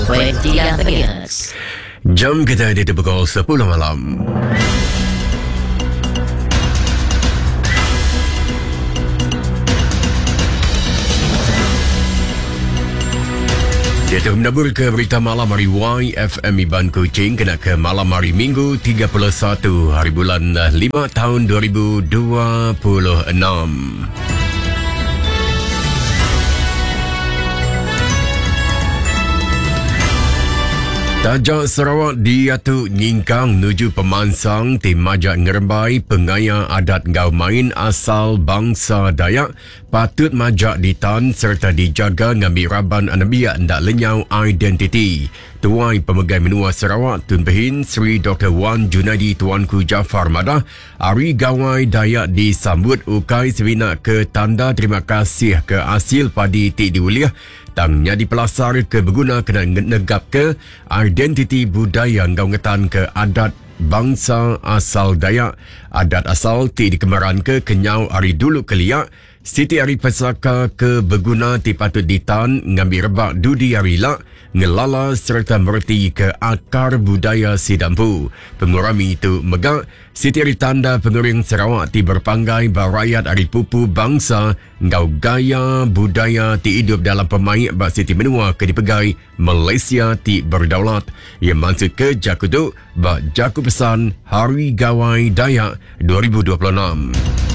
1.3 MHz. Jam kita di pukul 10 malam. Dia menabur ke berita malam hari YFM Iban Kuching kena ke malam hari Minggu 31 hari bulan 5 tahun 2026. Taja Sarawak diatu nyingkang nuju pemansang ti majak ngerembai pengaya adat enggau main asal bangsa Dayak patut majak ditan sereta dijaga ngambi raban anembiak enda lenyau identiti. Tuai Pemegai Menua Sarawak Tun Pehin Sri Doktor Wan Junaidi Tuanku Jaafar madah Hari Gawai Dayak disambut ukai semina ke tanda terima kasih ke asil padi ti diulih tang nyadi pelasar ke beguna kena negapka identiti budaya enggau ngetanka adat bangsa asal Dayak. Adat asal ti dikemeranka kenyau ari dulu kelia Siti ari pesaka ke beguna ti patut ditan ngambi rebak dudi hari ila ngelala sereta mereti ke akar budaya sida empu. Pengerami tu mega siti ari tanda pengering Sarawak ti berepanggai ba rayat ari pupu bangsa enggau gaya budaya ti idup dalam pemaik ba siti menua ke dipegai Malaysia ti berdaulat. Iya mansutka jaku tu ba jaku pesan Hari Gawai Dayak 2026.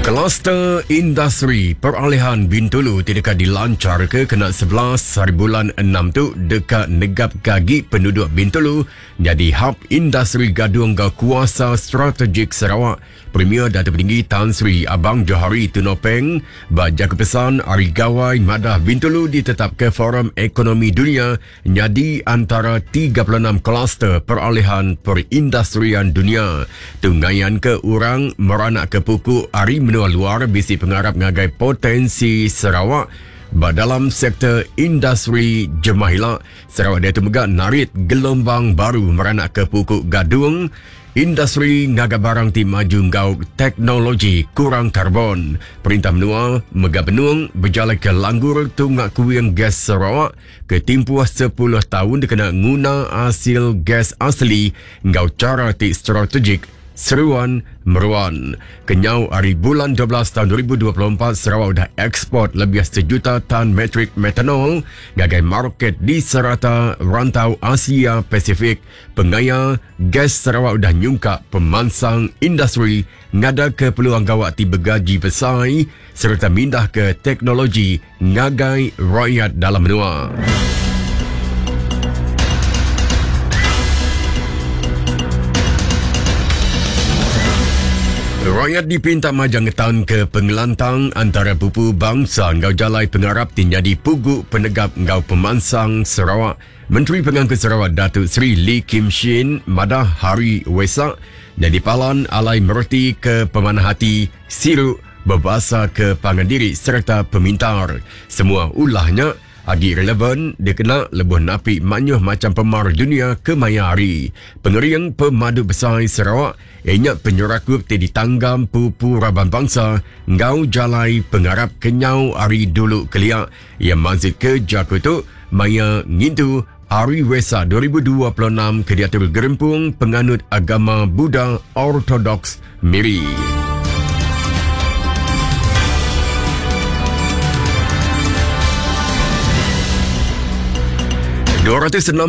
Kluster Industri Peralihan Bintulu ti deka dilancarka kena 11 hari bulan 6 tu deka negapka agi penduduk Bintulu nyadi hub industri gadung enggau kuasa strategik Sarawak. Premier Datuk Patinggi Tan Sri Abang Johari Tun Openg ba jaku pesan Hari Gawai madah Bintulu ditetapka Forum Ekonomi Dunia nyadi antara 36 kluster peralihan perindustrian dunia. Tu ngayanka orang meranakka puku ari menua luar bisi pengarap ngagai potensi Sarawak ba dalam sektor industri jemah ila. Sarawak diatu mega narit gelombang baru meranakka puku gadung Industri ngaga barang ti maju enggau teknologi kurang karbon. Perintah menua mega benung bejalaika langgur tunga kuing gas Sarawak ke timpuh sepuluh taun dikena nguna asil gas asli enggau chara ti strategik seruan meruan. Kenyau ari bulan 12 taun 2024, Sarawak udah eksport lebih sejuta tan metrik metanol ngagai market di serata rantau Asia Pasifik. Pengaya Gas Sarawak udah nyungkak pemansang industri ngadaka peluang gawa ti begaji besai sereta mindahka teknologi ngagai rayat dalam menua. Rayat dipinta majak ngetanka pengelantang antara pupu bangsa enggau jalai pengarap ti nyadi pugu penegap enggau pemansang Sarawak. Menteri Pengangkut Sarawak Datuk Seri Lee Kim Shin madah Hari Wesak nyadi palan alai mereti ke pemanah ati, siru, bebasa ke pangan diri sereta pemintar. Semua ulah nya agi relevan dikena lebuh napi mayuh macham pemar dunya kemaya hari. Pengering pemadu besai Sarawak iya nya penyerakup ti ditanggam pupu raban bansa enggau jalai pengarap kenyau ari dulu kelia. Iya mansutka jaku tu maya ngintu Hari Wesak 2026 ke diatur Gerempung Penganut Agama Buddha Ortodoks Miri. 265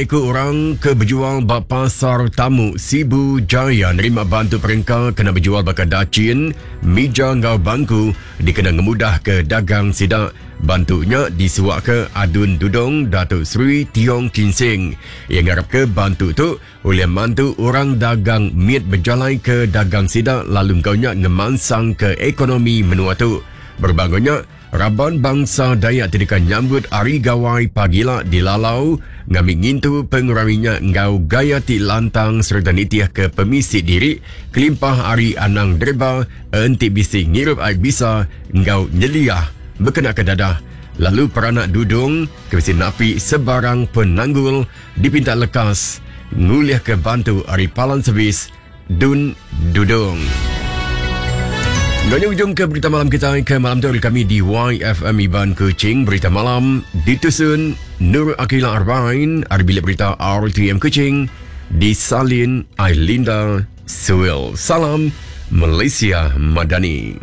iku orang ke bejual ba Pasar Tamu Sibu Jaya nerima bantu perengka kena bejual baka dachin, mija enggau bangku dikena ngemudahka dagang sida. Bantu nya disuaka Adun Dudong Datuk Seri Tiong Kin Sing. Iya ngarapka bantu tu ulih mantu orang dagang mit bejalaika dagang sida lalu enggau nya ngemansangka ekonomi menua tu. Berebak enggau nya, raban bansa Dayak ti deka nyambut Hari Gawai pagila dilalau ngambi ngintu pengerami nya enggau gaya ti lantang sereta nitihka pemisi diri kelimpah ari anang deriba enti bisi ngirup ai bisa enggau nyeliah bekenaka dadah lalu peranak Dudong ke bisi napi sebarang penanggul dipinta lekas ngulihka bantu ari palan servis Dun Dudong. Nanya ujung ke berita malam kita ke malam tu kami di YFM Iban Kuching. Berita malam ditusun Nur Akila Arbain, ari bilik berita RTM Kuching, disalin Ailinda Suel. Salam Malaysia Madani.